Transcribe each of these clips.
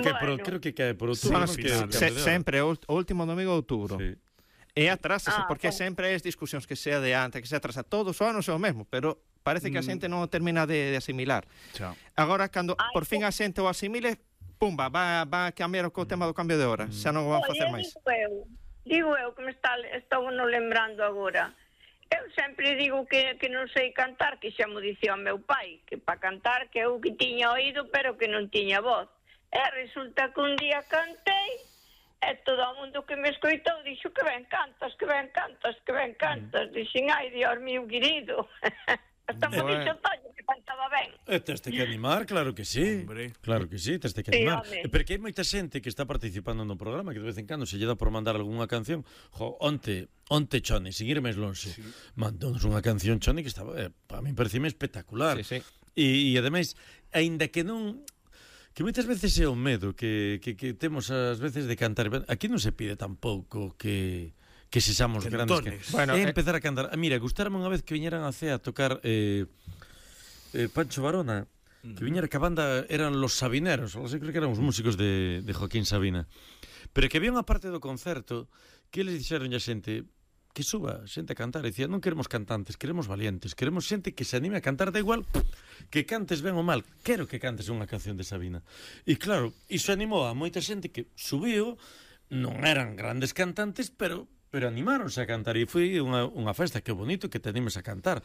Creo que cae por outubro. Sempre o último domingo de outubro. Sí. E atrásase, porque sempre as discusións que sea de antes, que se atrasa todos os anos é o mesmo, pero parece que a xente non termina de asimilar. Agora, cando por fin a xente o asimile, pumba, va a cambiar o tema do cambio de hora, xa non o van facer máis. Digo eu que me estou non lembrando agora. Eu sempre digo que non sei cantar, que xa mo dicía o meu pai, que para cantar que eu que tiña oído, pero que non tiña voz. E resulta que un día cantei, e todo o mundo que me escoitou dixo que ben cantas, que ben cantas, que ben cantas. Dixen, ai, Dios mío querido. Hasta me dixo Toño que cantaba ben. Teste que animar, claro que sí. Claro que sí, teste que animar. Porque hai moita xente que está participando no programa, que de vez en cando se lle dá por mandar algunha canción. Onte Choni, sin ir máis longe, mandounos unha canción, Choni, que estaba, para mí parecime espectacular. E ademais, aínda que non... Que moitas veces é o medo que temos ás veces de cantar. Aquí non se pide tampouco que sexamos grandes. Empezar a cantar. Mira, gustarme unha vez que viñeran a CEA a tocar Pancho Varona, que viñera que a banda eran Los Sabineros, creo que eran os músicos de Joaquín Sabina. Pero que había unha parte do concerto que eles dixeron a xente que suba xente a cantar, e dicía, non queremos cantantes, queremos valientes, queremos xente que se anime a cantar, da igual que cantes ben ou mal, quero que cantes unha canción de Sabina. E claro, iso animou a moita xente que subiu, non eran grandes cantantes, pero animáronse a cantar, e foi unha festa, que bonito que te animes a cantar.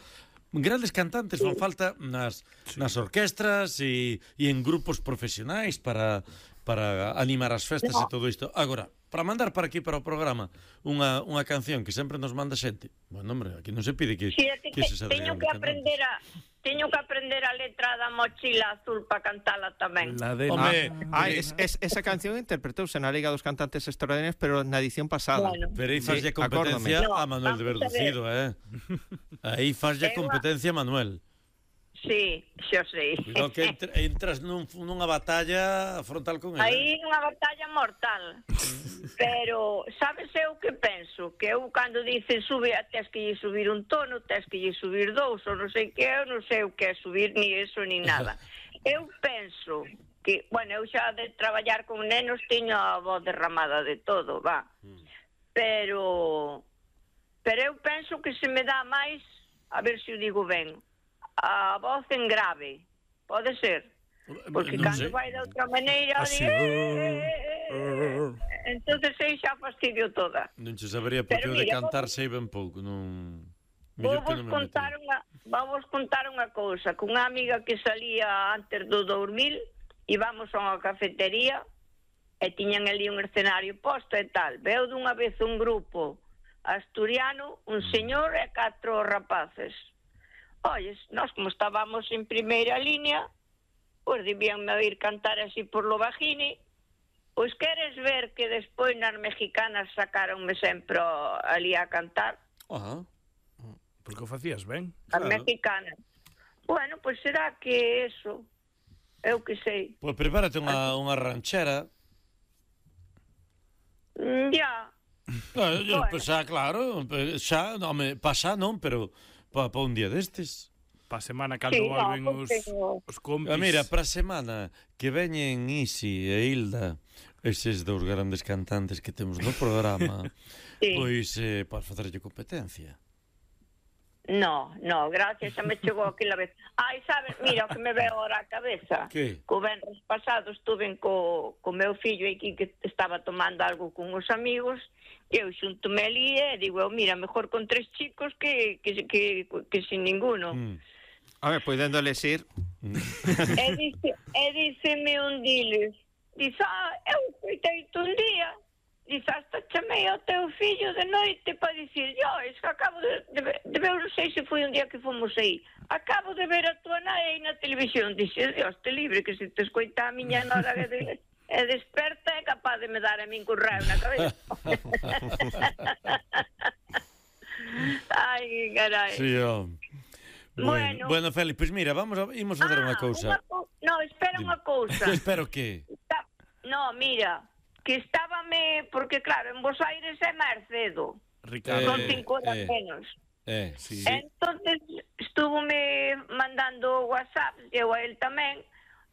Grandes cantantes fan falta nas orquestras e en grupos profesionais para animar as festas e todo isto. Agora, para mandar para aquí, para o programa, unha canción que sempre nos manda xente, bueno, hombre, aquí non se pide que se sabe. Teño que aprender a letra da Mochila Azul para cantala tamén. Esa canción interpretouse na Liga dos Cantantes Extraordinarios, pero na edición pasada. Pero aí faslle competencia a Manuel de Verducido, Aí faslle competencia a Manuel. Sí, xo sei. Cuidado que entras nunha batalla frontal con ele. Aí nunha batalla mortal. Pero, sabes eu que penso? Que eu cando dicen sube, tes que lle subir un tono, tes que lle subir dous, ou non sei que, eu non sei o que é subir, ni eso, ni nada. Eu penso que, bueno, eu xa de traballar con nenos teño a voz derramada de todo, va. Pero eu penso que se me dá máis, a ver se o digo ben, a voz en grave, pode ser, porque cando vai de outra maneira entonces aí xa fastidio toda. Non che sabería porque o de cantar sei ben pouco, non. Vamos contar unha cousa, con unha amiga que salía antes do 2000, íbamos a unha cafetería e tiñan ali un escenario posto e tal. Veo dunha vez un grupo asturiano, un señor e 4 rapaces. Olles, nós como estábamos en primeira línea, pois debíanme oír cantar así por lo bajini. Pois queres ver que despois nas mexicanas sacaronme sempre ali a cantar? Porque o facías ben. As mexicanas. Bueno, pois será que eso, eu que sei. Pois prepárate unha ranchera. Ya. Xa, claro, xa, non, pasa non, pero para un día destes. Para a semana cando volven os compis. Mira, para a semana que veñen Isi e Hilda, eses dous grandes cantantes que temos no programa, pois para facerlle competencia. No, gracias, xa me chegou aquela vez. Ai, sabes, mira, o que me veo ahora a cabeza. Que? Co venres pasado estuve co meu fillo aquí que estaba tomando algo con os amigos. Eu xuntome ali e digo, mira, mejor con 3 chicos que sin ninguno. A ver, podendo elegir. E díceme un diles, dice, eu coitei-te un día, dice, hasta chamei ao teu fillo de noite para dicir, es que acabo de ver, non sei se foi un día que fomos aí, acabo de ver a tua nai aí na televisión. Dice, Dios te libre, que se te escoita a miña nora e desperta é capaz de me dar a min currao na cabeza. Ai, carai. Sí, bueno, Félix, pois mira, imos fazer unha cousa. No, espera unha cousa. Espero que? No, mira, que estábame, porque claro, en Bos Aires é máis cedo. Ricardo. Son 5 horas menos. Sí. Entonces, estúvome mandando WhatsApp, eu a él tamén,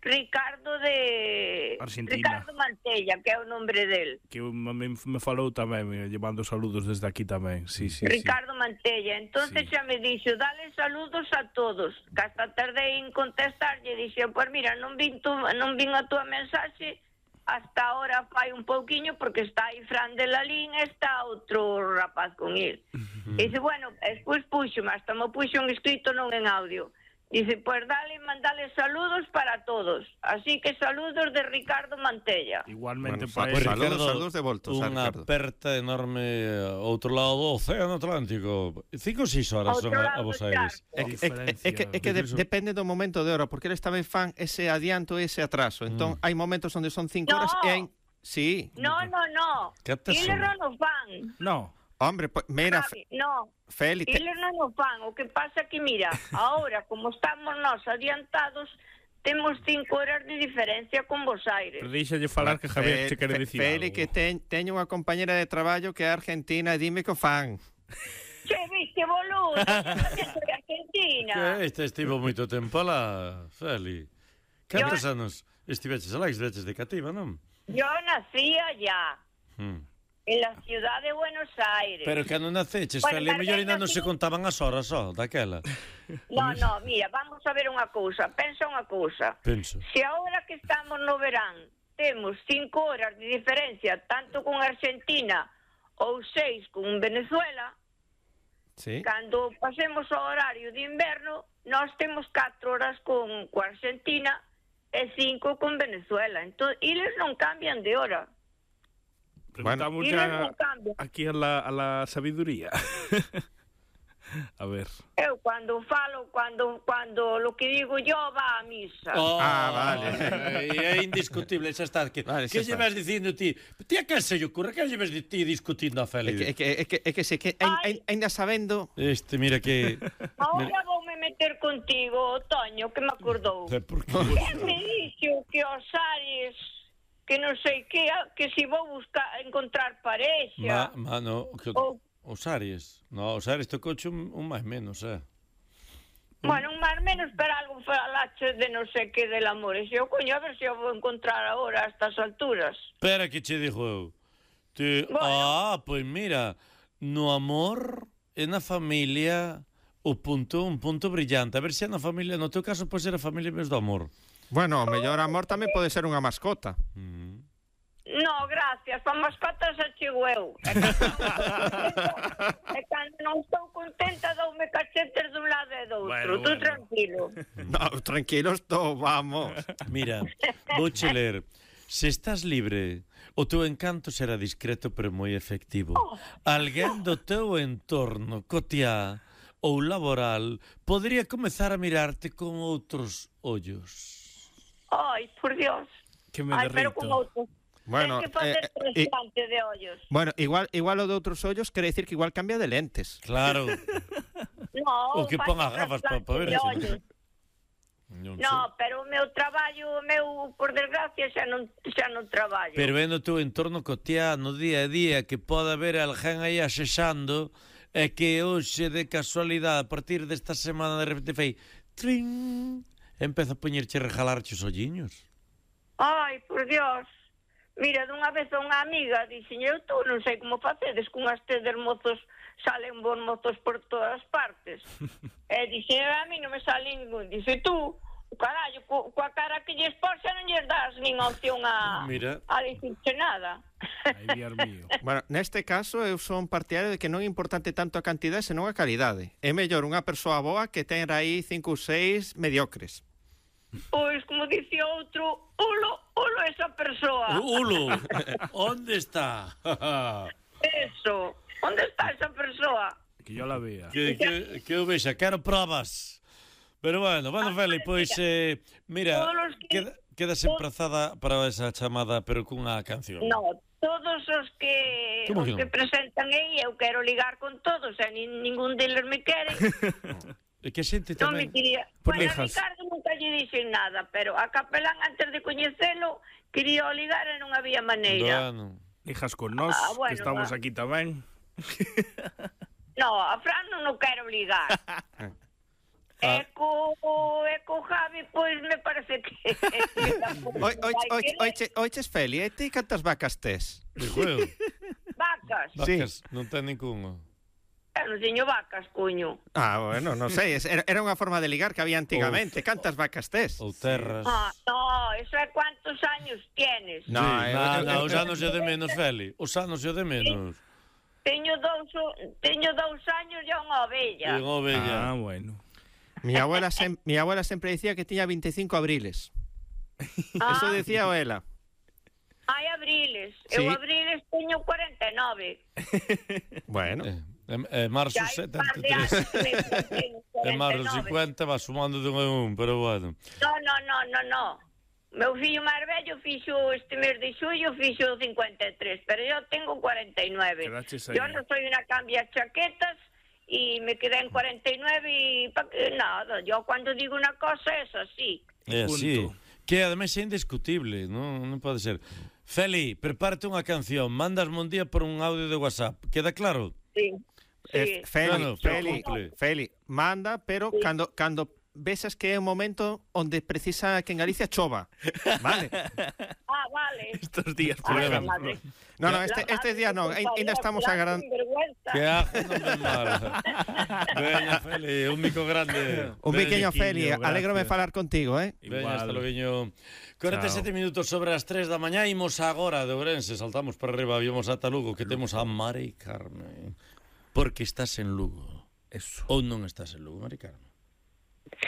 Ricardo de Argentina. Ricardo Mantella, que é o nombre del. Que me falou tamén, llevando saludos desde aquí tamén. Sí. Ricardo Mantella. Entonces xa me dixo, dale saludos a todos. Que hasta tardei en contestarlle, dixo, pues mira, non vin a túa mensaxe hasta ahora fai un pouquiño porque está aí Fran de Lalín e está outro rapaz con el. E dice, bueno, despois puxome, hasta me puxo un escrito non en audio. Dice, pues mandale saludos para todos. Así que saludos de Ricardo Mantella. Igualmente para Pues, saludos de voltos. Unha aperta enorme ao outro lado do Océano Atlántico. 5 ou 6 horas son a Bos Aires. É que depende do momento de hora, porque eles tamén fan ese adianto e ese atraso. Entón, hai momentos onde son 5 horas e hai... Sí. No. Eles non fan. No. Hombre, pues, mira, no. Félix... Eles non o fan. O que pasa que, mira, ahora, como estamos nós adiantados, temos 5 horas de diferencia con Bos Aires. Pero díxalle falar que Javier che quere dicir Félix, que teño unha compañera de traballo que é argentina e dime que o fan. Che, viste, boludo, tamén soy argentina. Que estivo moito tempo lá, Félix. Cantos anos estiveches alá, estiveches de cativa, non? Yo nacía ya. En la ciudad de Buenos Aires. Pero que non naceches, bueno, Félix, mellor ainda non se contaban as horas só, daquela. No, mira, vamos a ver unha cousa, pensa unha cousa. Penso. Se agora que estamos no verán, temos 5 horas de diferencia, tanto con Argentina ou 6 con Venezuela, sí. Cando pasemos ao horario de inverno, nós temos 4 horas con Argentina e 5 con Venezuela. Entón, eles non cambian de hora. Preguntamos ya aquí a la sabiduría. A ver. Eu cando falo, cando lo que digo yo va a misa. Vale. É indiscutible, xa está. Que llevas dicindo ti? Ti a que se lle ocurre? Que llevas ti discutindo a Félix? É que se que ainda sabendo... Mira que... Ahora voume meter contigo, Toño, que me acordou. Por que? Que me dixo que os Aries... que non sei que si vou encontrar parexa. No, os Aries. No, os Aries tocouche un máis menos, Bueno, un máis menos, pero algo falache de non sei que del amor. E se eu coño, a ver se eu vou encontrar agora a estas alturas. Espera que che dixo eu. Pois mira, no amor e na familia un punto brillante. A ver se na familia, no teu caso, pode ser a familia en vez do amor. Bueno, o mellor amor tamén pode ser unha mascota. No, gracias, para mascotas achego eu. E cando non estou contenta doume cachetes dun lado e do outro. Tú tranquilo. No, tranquilo estou, vamos. Mira, vouche ler. Se estás libre, o teu encanto será discreto pero moi efectivo. Alguén do teu entorno cotiá ou laboral podría comezar a mirarte con outros ollos. Ai, por Dios. Que me derrito. Pero con outros. Bueno, ten que facer trasplante de ollos. Bueno, igual o de outros ollos quere decir que igual cambia de lentes. Claro. No, o que ponga gafas para ver eso. No, pero o meu traballo, por desgracia, xa non traballo. Pero vendo o teu entorno cotiá no día a día que pode haber alguén aí asexando e que hoxe de casualidade a partir desta semana de repente fei trin, empeza a poñerche a regalarche os olliños. Ai, por Dios. Mira, dunha vez a unha amiga dixen, eu tú non sei como facedes con tedes mozos, salen bons mozos por todas partes. E dixen, a mí non me sale ningún. Dixe, tú, carallo, coa cara que lles pos xa non lles das nin opción a dicirche nada. Ai, Dios mío. Bueno, neste caso eu son partidario de que non é importante tanto a cantidade senón a calidade. É mellor unha persoa boa que ten aí 5 ou 6 mediocres. Pois, como dicía outro, ulo esa persoa. Ulo, onde está? Eso, onde está esa persoa? Que yo la vea. Que eu vexa, quero probas. Pero bueno, Félix, pois, mira, quedas emprazada para esa chamada, pero cunha canción. No, todos os que presentan aí, eu quero ligar con todos, e ningún deles me quere. E que xente tamén... Non me quería... Bueno, a Ricardo nunca lle dixen nada, pero a Capelán, antes de coñecelo, quería o ligar e non había maneira. Bueno. Lijas con nós, que estamos aquí tamén. No, a Fran non o quero ligar. E co Javi, pois me parece que... Oiches, Feli, e ti cantas vacas tes? Vacas? Vacas, non ten ningunha. Eu non teño vacas, coño. Bueno, non sei, era unha forma de ligar que había antigamente. Cantas vacas tes? Ou terras. No, eso é cuántos años tienes. No, os anos é de menos, Feli. Os anos é de menos. Teño 2 años e unha ovella. E unha ovella. Bueno. Mi abuela sempre dicía que tiña 25 abriles. Eso decía ela. Hai abriles. Sí. Eu abriles teño 49. Bueno. Marzo 73. E marzo 50 va sumando de un, pero bueno. No. Meu fillo máis vello fixo este mes de xullo, fixo 53, pero eu tengo 49. Yo non soy una cambia chaquetas y me quedé en 49 y nada, yo cuando digo una cosa es así. É así. Que ademais é indiscutible, non pode ser. Feli, prepárate unha canción, mandasme un día por un audio de WhatsApp, queda claro? Sí. Feli, manda, pero cando vexas que é un momento onde precisa que en Galicia chova, vale? Vale. Estos días No, estes días non, ainda estamos agardando. Que ajo non ven mal. Veña, Feli, un mico grande. Un pequeño Feli, alégrome falar contigo, Veña, hasta logo. 47 minutos sobre as 3 da mañá, imos agora de Ourense, saltamos para arriba, vimos ata Lugo, que temos a Mari Carmen. Porque estás en Lugo. Eso. Ou non estás en Lugo, Mari Carmen?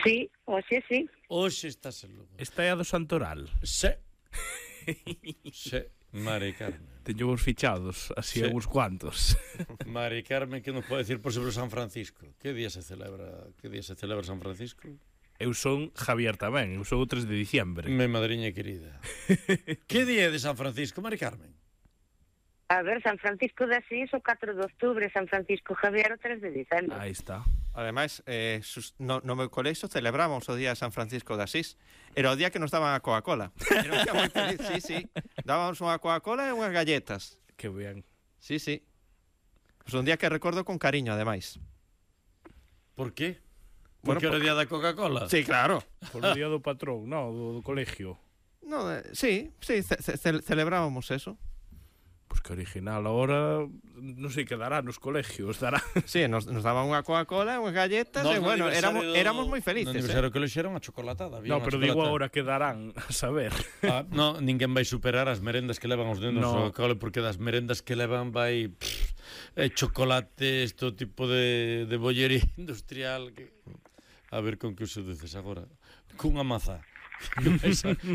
Sí, hoxe sí. Hoxe estás en Lugo. Esta é a do Santoral. Sí, Mari Carmen. Teño vos fichados, así uns cuantos. Mari Carmen, que nos pode decir por sobre San Francisco? Que día se celebra San Francisco? Eu son Javier tamén, eu son o 3 de diciembre. Me madriña querida. Que día é de San Francisco, Mari Carmen? A ver, San Francisco de Asís o 4 de outubro, San Francisco Javier o 3 de diciembre. Aí está. Ademais, no meu colexo celebramos o día de San Francisco de Asís. Era o día que nos daban a Coca-Cola. Era un día moi feliz, sí. Dábamos unha Coca-Cola e unhas galletas. Que ben. Sí. Pues un día que recordo con cariño, ademais. Por qué? Porque era o día da Coca-Cola? Sí, claro. Por o día do patrón, do colegio. No, sí, celebrábamos eso. Pois que original, ahora non sei que dará nos colegios, dará. Sí, nos daban unha Coca-Cola, unhas galletas, e bueno, éramos moi felices. No aniversario que le xeron a chocolatada. No, pero digo ahora que darán, a saber. No, ninguén vai superar as merendas que levan os nenos ao cole, porque das merendas que levan vai chocolates, todo tipo de bollería industrial. A ver con que uso dices agora. Cunha maza.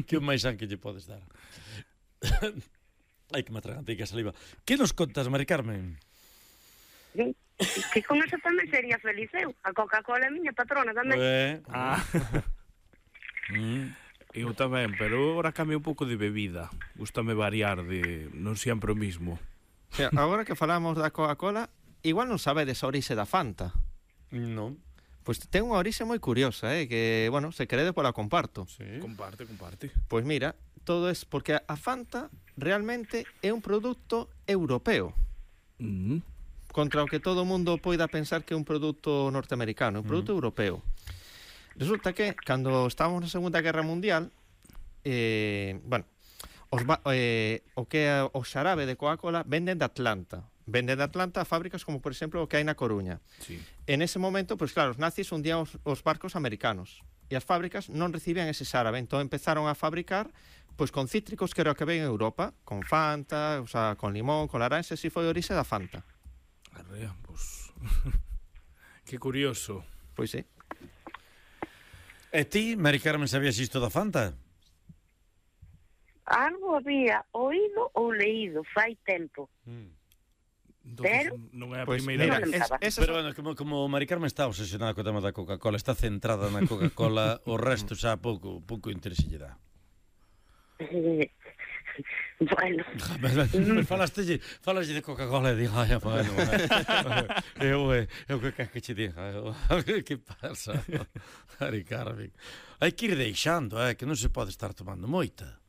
Que máis san que lle podes dar. Ai, que me atragantei que a saliva. Que nos contas, Mari Carmen? Que con eso tamén sería feliz eu. A Coca-Cola é miña patrona tamén. Eu tamén, pero agora cambio un pouco de bebida. Gústame variar, non sempre o mismo. Agora que falamos da Coca-Cola, igual non sabedes a orixe da Fanta. Non. Pois ten unha orixe moi curiosa, que, bueno, se queredes pola comparto. Sí. Comparte. Pois mira, todo é porque a Fanta realmente é un produto europeo. Contra o que todo o mundo poida pensar que é un produto norteamericano, un produto europeo. Resulta que, cando estábamos na Segunda Guerra Mundial, o que é o xarabe de Coca-Cola venden de Atlanta. Venden de Atlanta a fábricas como, por exemplo, o que hai na Coruña. Sí. En ese momento, pois claro, os nazis hundían os barcos americanos. E as fábricas non recibían ese xarabe, entón empezaron a fabricar pois con cítricos que era o que ven en Europa, con Fanta, o sea, con limón, con laranxa, e foi a orixe da Fanta. Arrea, pois... Que curioso. Pois sí. E ti, Mari Carmen, sabías isto da Fanta? Algo había oído ou leído fai tempo. Entonces, non é a pues primeira mira, vez. Pero bueno, como Mari Carmen está obsesionada co tema da Coca-Cola, está centrada na Coca-Cola, o resto xa pouco interese lle dá. Bueno. Falaslle de Coca-Cola e digo, ai, bueno, eu que che diga, que pasa, Mari Carmen? Hai que ir deixando, que non se pode estar tomando moita.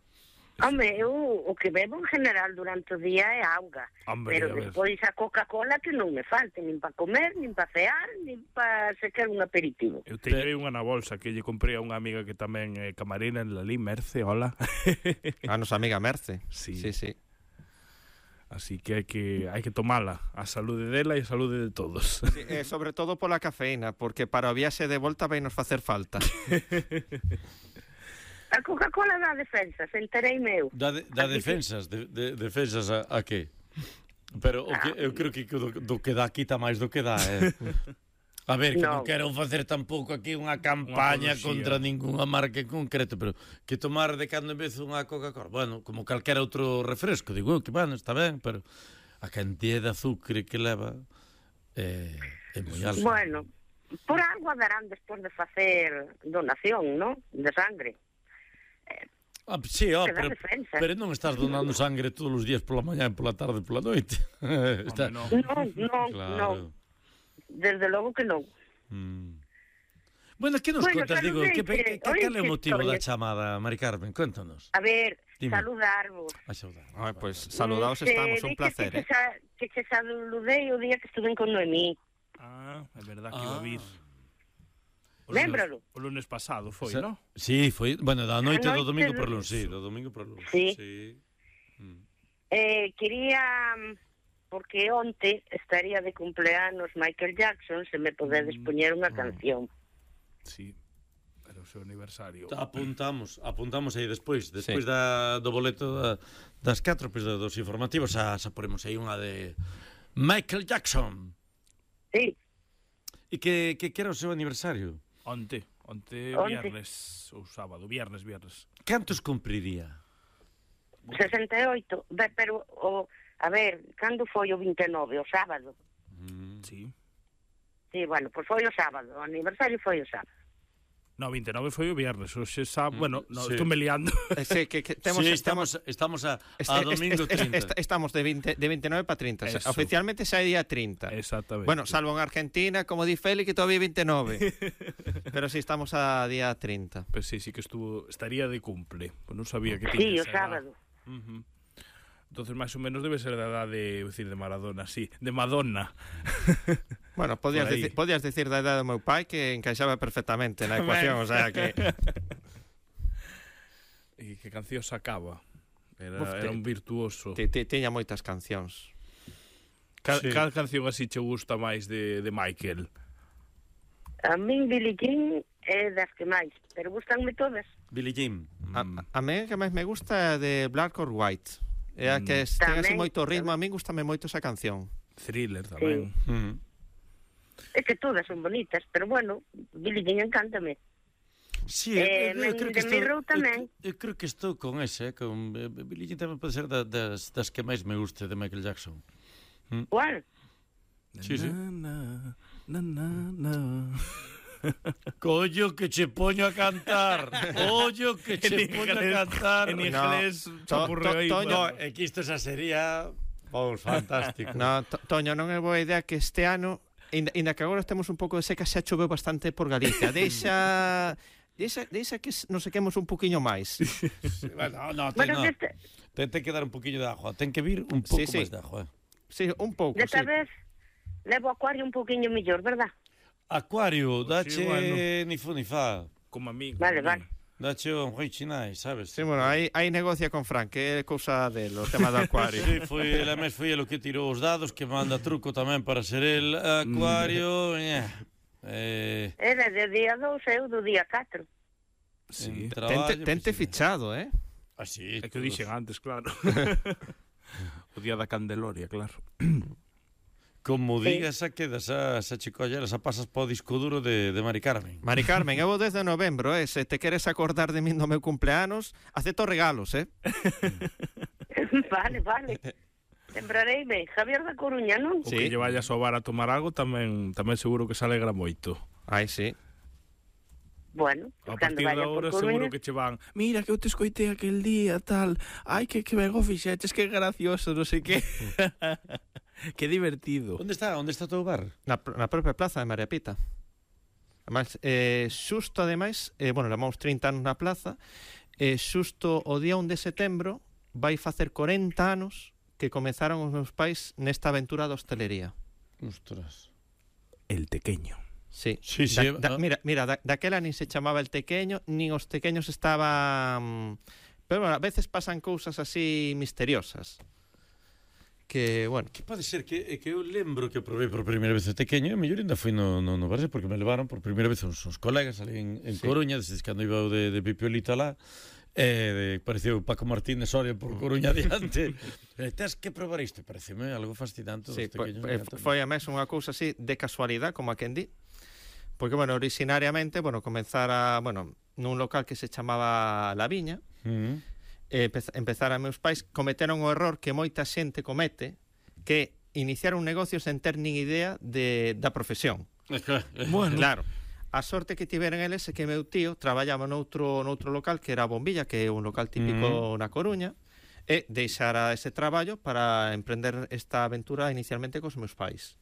Home, eu o que bebo en general durante o día é auga. Pero despois a Coca-Cola que non me falte, nin para comer, nin para cear, nin para sequer un aperitivo. Eu teño unha na bolsa que lle comprei a unha amiga que tamén é camarera en Lalí, Merce, hola. A nosa amiga Merce. Sí. Sí. Así que hai que tomala, a saúde dela e a saúde de todos. Sí, sobre todo pola cafeína, porque para o viaxe de volta vai nos facer falta. A Coca-Cola dá defensas, entereime eu. Dá defensas, defensas a que? Pero eu creo que do que dá quita máis do que dá, A ver, que non quero facer tampouco aquí unha campaña contra ningunha marca en concreto, pero que tomar de cando en vez unha Coca-Cola, bueno, como calquera outro refresco, digo, que bueno, está ben, pero a cantidad de azúcar que leva é moi alta. Bueno, por algo darán despois de facer donación, ¿no?, de sangre. Sí, pero non estás donando sangre todos os días pola mañá, pola tarde, pola noite. Non. Desde logo que non. Bueno, que nos contas, digo, cal é o motivo da chamada, Mari Carmen? Contanos. A ver, saludarvos. Pois saludaos estamos, un placer. Que che saludei o día que estuve con Noemí. É verdad que iba a vir. Lembralo. O lunes pasado foi, non? Sí, foi, bueno, da noite do domingo por lunes, sí, do domingo por lunes. Sí. Quería, porque onte estaría de cumpleanos Michael Jackson, se me podedes poñer unha canción. Sí, era o seu aniversario. Apuntamos aí despois do boleto das 4, pois dos informativos, xa poremos aí unha de Michael Jackson. Sí. E que era o seu aniversario? Onte viernes ou sábado, viernes. Cantos cumpriría? 68, pero a ver, cando foi o 29, o sábado? Sí. Sí, bueno, pois foi o sábado, o aniversario foi o sábado. No, 29 foi o viernes, hoxe sábado, bueno, estou me liando. Sí, estamos a domingo 30. Estamos de 29 para 30, Eso. Oficialmente xa é día 30. Exactamente. Bueno, salvo en Argentina, como di Feli, que todavía 29. Pero sí, estamos a día 30. Pues sí que estaría de cumple, pues non sabía que tiña. Sí, o edad. sábado. Entonces, máis ou menos debe ser da edade, decir, de Maradona, sí, de Madonna. Bueno, podías decir da edade do meu pai que encaixaba perfectamente na ecuación, o sea que... E que canción sacaba? Era un virtuoso. Tiña moitas cancións. Cal canción así che gusta máis de Michael? A min Billie Jean é das que máis, pero gustanme todas. Billie Jean. A mí que máis me gusta é de Black or White. É a que ten así moito ritmo, a mí gustame moito esa canción. Thriller tamén. É que todas son bonitas, pero bueno, Billie Jean encántame. Sí, eu creo que estou con ese, con Billie Jean tamén pode ser das que máis me guste de Michael Jackson. ¿Cuál? Sí. Collo que che poño a cantar. Collo que che poño a cantar. En inglés, Toño, que isto xa sería fantástico. No, Toño, non é boa idea que este ano, ainda que agora estemos un pouco de seca, xa choveu bastante por Galicia. Deixa que nos sequemos un poquinho máis. Ten que dar un poquinho de agua. Ten que vir un pouco máis de agua. Sí, un pouco, Desta vez levo Acuario un poquinho mellor, verdad? Acuario, dache ni fu ni fa. Como a mí. Vale. Dache un Huichinai, sabes? Sí, bueno, aí negocia con Fran, que é cousa del, o tema do Acuario. Sí, foi el que tirou os dados, que manda truco tamén para ser el Acuario. Era de día 2 e eu do día 4. Sí. Tente fichado, Así. É que o dixen antes, claro. O día da Candeloria, claro. Como digas, a quedas a chicoller, a pasas po disco duro de Mari Carmen. Mari Carmen, eu vou desde novembro, se te queres acordar de min no meu cumpleanos, acepto regalos, Vale. Lembrareime, Javier da Coruña, non? O que lle vayas ao bar a tomar algo tamén seguro que se alegra moito. Ai, sí. Bueno, a partir de agora seguro que che van, mira que eu te escoitei aquel día, tal, ai que ben o fixeches, que gracioso, non sei que. Que divertido. Onde está o teu bar? Na propia plaza de María Pita. Ademais, xusto ademais, bueno, levamos 30 anos na plaza, xusto o día 1 de setembro vai facer 40 anos que comenzaron os meus pais nesta aventura da hostelería. Ostras. El tequeño. Sí. Mira, daquela nin se chamaba el tequeño, nin os tequeños estaban... Pero bueno, a veces pasan cousas así misteriosas. Que, bueno... Que pode ser que eu lembro que probei por primeira vez o tequeño, e mellor ainda foi no Barça, porque me levaron por primeira vez uns colegas ali en Coruña, desde cando iba de Pipiolito lá, pareceu Paco Martínez Soria por Coruña adiante. Tens que probar isto, pareceme algo fascinante. Sí, foi a mesma unha cousa así de casualidade, como a quen di, porque, bueno, originariamente, comenzara, nun local que se chamaba La Viña, empezaran meus pais, cometeron o error que moita xente comete, que iniciar un negocio sen ter nin idea da profesión. Bueno, claro. A sorte que tiveran eles é que meu tío traballaba noutro local que era Bombilla, que é un local típico na Coruña, e deixara ese traballo para emprender esta aventura inicialmente cos meus pais.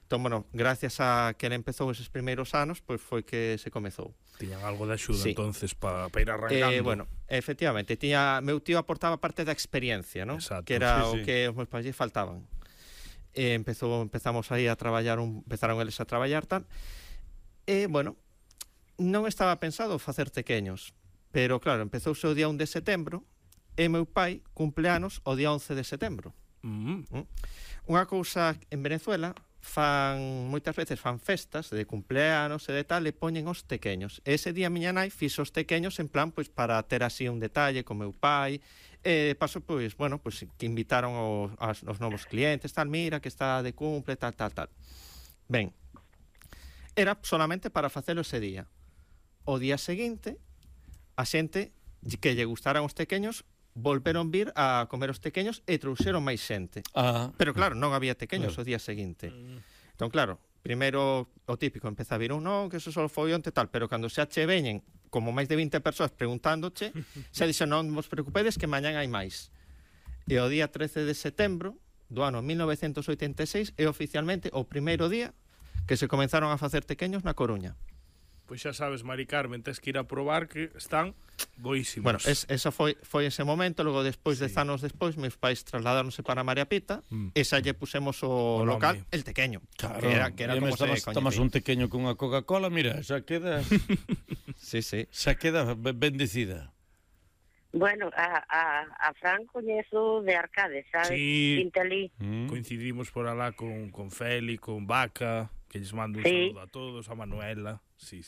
Entón, gracias a que ele empezou eses primeiros anos, pois foi que se comezou. Tiñan algo de axuda, entonces, para ir arrancando. Efectivamente, meu tío aportaba parte da experiencia, ¿no? Exacto. Que era o que os meus pais faltaban. Empezamos aí a traballar, empezaron eles a traballar tal, e, non estaba pensado facer tequeños, pero, claro, empezouse o día 1 de setembro, e meu pai cumpleanos o día 11 de setembro. Unha cousa en Venezuela, moitas veces fan festas de cumpleanos e de tal, e poñen os tequeños. Ese día miña nai fixo os tequeños en plan, pois, para ter así un detalle con meu pai, e de paso, pois, que invitaron aos novos clientes, tal, mira, que está de cumple, tal. Ben, era solamente para facelo ese día. O día seguinte, a xente que lle gustaran os tequeños volveron vir a comer os tequeños e trouxeron máis xente. Pero claro, non había tequeños o día seguinte. Entón, claro, primeiro o típico, empeza a vir que eso só foi onte tal, pero cando xa che veñen como máis de 20 persoas preguntándoche, xa dixen, non vos preocupedes que mañán hai máis. E o día 13 de setembro do ano 1986 é oficialmente o primeiro día que se comenzaron a facer tequeños na Coruña. Pois xa sabes, Mari Carmen, tens que ir a probar que están boísimos. Bueno, esa foi ese momento, logo despois, 10 anos despois, meus pais trasladáronse para María Pita, e xa lle pusemos o local, el tequeño. Claro, que era como se coñecía. Tomas un tequeño con unha Coca-Cola, mira, xa queda... sí. Xa queda bendecida. Bueno, a Fran coñezo de Arcade, sabes? Sí. Pintelí. Coincidimos por alá con Feli, con Vaca, que lles mando un saludo a todos, a Manuela. Sí.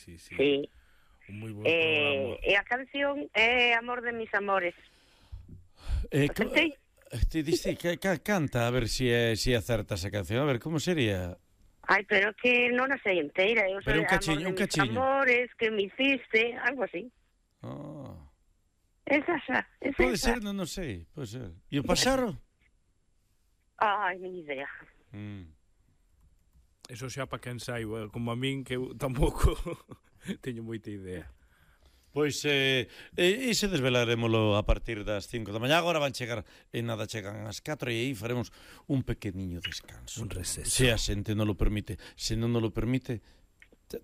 Un moi bon programa. E a canción é Amor de mis amores. Te diste que canta, a ver si acerta esa canción. A ver, como sería? Ai, pero que non a sei inteira. Pero un cachiño. Mis amores que me hiciste, algo así. Esa. Pode ser, non sei, pode ser. E o Pasaro? Ai, ni idea. Eso xa para quen saiba, como a min, que eu tampouco teño moita idea. Pois, iso desvelarémolo a partir das 5 da mañá. Agora van chegar, nada chegan as 4, e aí faremos un pequeniño descanso. Un receso. Se a xente non lo permite. Se non lo permite,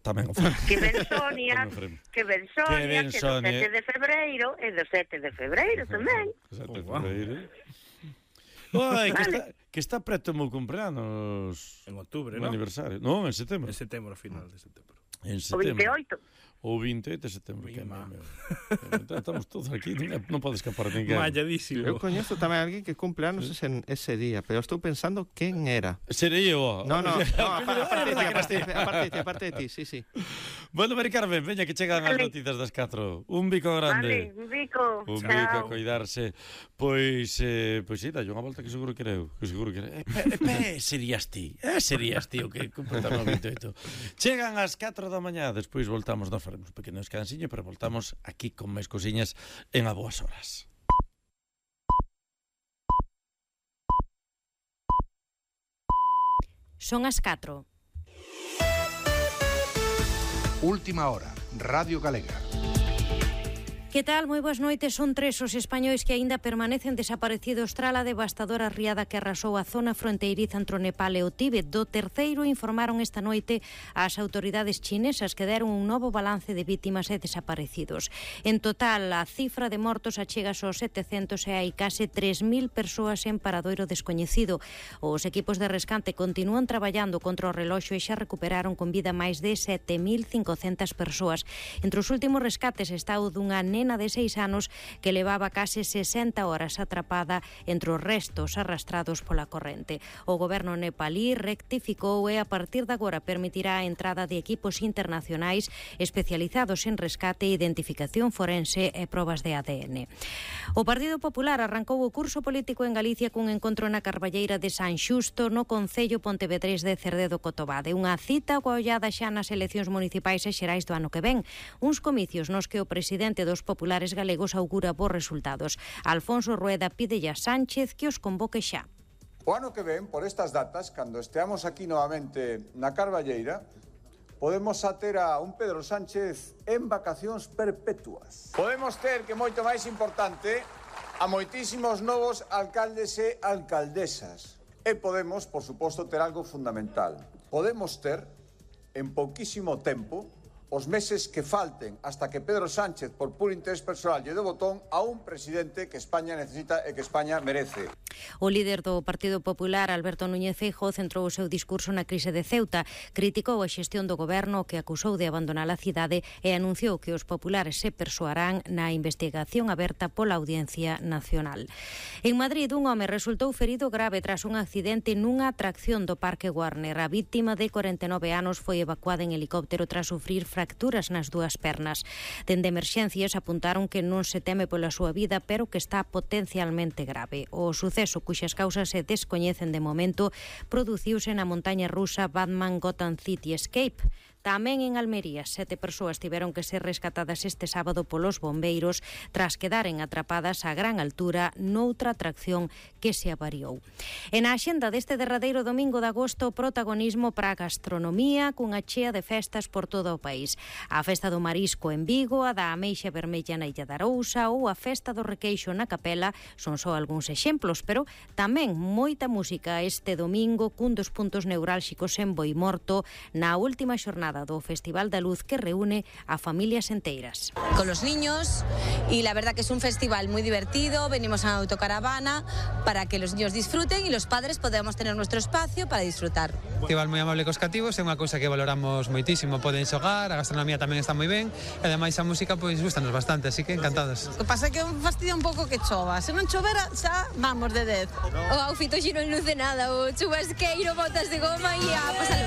tamén o faremos. Que ben Sonia, que do 7 de febreiro, e do 7 de febreiro tamén. 7 de febreiro. Que está preto o meu cumpleanos. En outubro, non? Aniversario. Non, en setembro. En setembro, a final de setembro. O 28. O 28 de setembro. Estamos todos aquí, non pode escapar ninguén. Malladísimo. Eu coñezo tamén a alguén que cumple anos ese día, pero estou pensando quen era. Serei eu. No, aparte de ti, sí. Bueno, Mari Carmen, veña que chegan as noticias das 4. Un bico grande. Vale, un bico. Un bico a coidarse. Pois sí, dalle unha volta que seguro que era eu. Serías ti o que cumple o 28. Chegan as 4 da mañá, despois voltamos, nos faremos un pequeno descansiño, pero voltamos aquí con máis cosiñas en A Boas Horas. Son as 4. Última hora, Radio Galega. Que tal? Moi boas noites. Son 3 os españois que aínda permanecen desaparecidos tras a devastadora riada que arrasou a zona fronteiriza entre o Nepal e o Tíbet. Do terceiro informaron esta noite as autoridades chinesas que deron un novo balance de vítimas e desaparecidos. En total, a cifra de mortos achega aos 700 e hai case 3.000 persoas en paradoiro descoñecido. Os equipos de rescate continúan traballando contra o reloxo e xa recuperaron con vida máis de 7.500 persoas. Entre os últimos rescates está o dunha nena de 6 anos que levaba case 60 horas atrapada entre os restos arrastrados pola corrente. O goberno nepalí rectificou e a partir de agora permitirá a entrada de equipos internacionais especializados en rescate, identificación forense e probas de ADN. O Partido Popular arrancou o curso político en Galicia cun encontro na Carballeira de San Xusto no concello pontevedrés de Cerdedo Cotobade. Unha cita coa ollada xa nas eleccións municipais e xerais do ano que ven. Uns comicios nos que o presidente dos populares galegos augura bons resultados. Alfonso Rueda pídelle a Sánchez que os convoque xa. O ano que ven, por estas datas, cando esteamos aquí novamente na Carballeira, podemos ter a un Pedro Sánchez en vacacións perpetuas. Podemos ter, que moito máis importante, a moitísimos novos alcaldes e alcaldesas. E podemos, por suposto, ter algo fundamental. Podemos ter, en pouquísimo tempo, os meses que falten hasta que Pedro Sánchez, por puro interés personal, lle dé botón a un presidente que España necesita e que España merece. O líder do Partido Popular, Alberto Núñez Feijóo, centrou o seu discurso na crise de Ceuta, criticou a xestión do goberno que acusou de abandonar a cidade e anunciou que os populares se persoarán na investigación aberta pola Audiencia Nacional. En Madrid, un home resultou ferido grave tras un accidente nunha atracción do Parque Warner. A vítima de 49 anos foi evacuada en helicóptero tras sufrir fracturas nas dúas pernas. Dende emerxencias apuntaron que non se teme pola súa vida, pero que está potencialmente grave. O suceso, cuxas causas se descoñecen de momento, produciuse na montaña rusa Batman Gotham City Escape. Tamén en Almería, 7 persoas tiveron que ser rescatadas este sábado polos bombeiros tras quedaren atrapadas a gran altura noutra atracción que se avariou. En a axenda deste derradeiro domingo de agosto, protagonismo para a gastronomía cunha chea de festas por todo o país. A Festa do Marisco en Vigo, a da Ameixa Vermella na Illa da Arousa ou a Festa do Requeixo na Capela son só algúns exemplos, pero tamén moita música este domingo cun dos puntos neurálxicos en Boimorto na última xornada do Festival da Luz que reúne a familias enteiras. Con los niños y la verdad que es un festival muy divertido, venimos en autocaravana para que los niños disfruten y los padres podamos tener nuestro espacio para disfrutar. Festival moi amable cos cativos, é unha cousa que valoramos moitísimo, poden xogar, a gastronomía tamén está moi ben e ademais a música pois gustanos bastante, así que encantados. O que pasa é que fastidia un pouco que chova, se non chovera xa vamos de 10. O outfit hoxe non luce nada, o chubasqueiro, botas de goma e a pasar